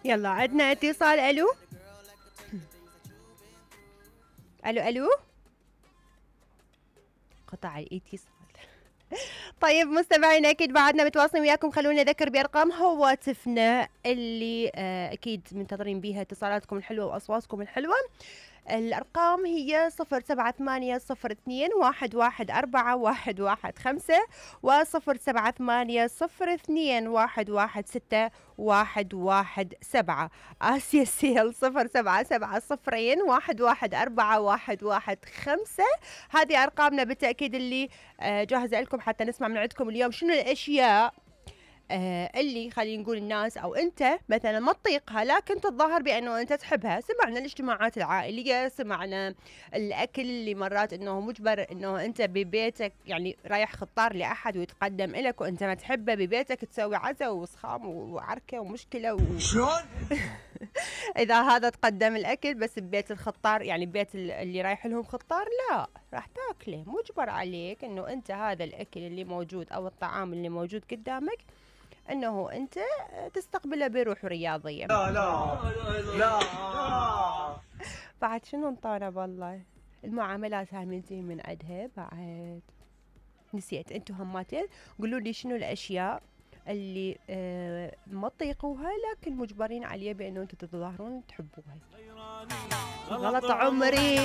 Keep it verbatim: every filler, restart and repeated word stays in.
يلا عندنا اتصال. الو الو الو قطع الاتصال. طيب مستمعينا اكيد بعدنا متواصلين وياكم، خلونا نذكر بارقام هواتفنا اللي آه اكيد منتظرين بيها اتصالاتكم الحلوه واصواتكم الحلوه. الارقام هي صفر سبعة ثمانية صفر اثنين واحد واحد اربعة واحد واحد خمسة وصفر سبعة ثمانية صفر اثنين واحد واحد ستة واحد واحد سبعة. آسيا سيل صفر سبعة سبعة صفرين واحد واحد أربعة واحد واحد خمسة. هذه أرقامنا بالتأكيد اللي آه جاهزة لكم حتى نسمع من عندكم اليوم شنو الأشياء آه اللي خلينا نقول الناس او انت مثلا ما تطيقها لكن تتظاهر بانه انت تحبها. سمعنا الاجتماعات العائليه، سمعنا الاكل اللي مرات انه مجبر انه انت ببيتك يعني رايح خطار لاحد ويتقدم لك وانت ما تحبه، ببيتك تسوي عزا وصخام وعركه ومشكله و... شلون؟ اذا هذا تقدم الاكل بس ببيت الخطار يعني ببيت اللي رايح لهم خطار لا راح تاكله، مجبر عليك انه انت هذا الاكل اللي موجود او الطعام اللي موجود قدامك انه انت تستقبله بروح رياضيه. لا لا لا بعد شنو انطانا والله المعاملات هاي منتهي من عندها. بعد نسيت انتم هماتين قولوا لي شنو الاشياء اللي اه ما تطيقوها لكن مجبرين عليه بانه انتم تتظاهرون تحبوها. غلط عمري.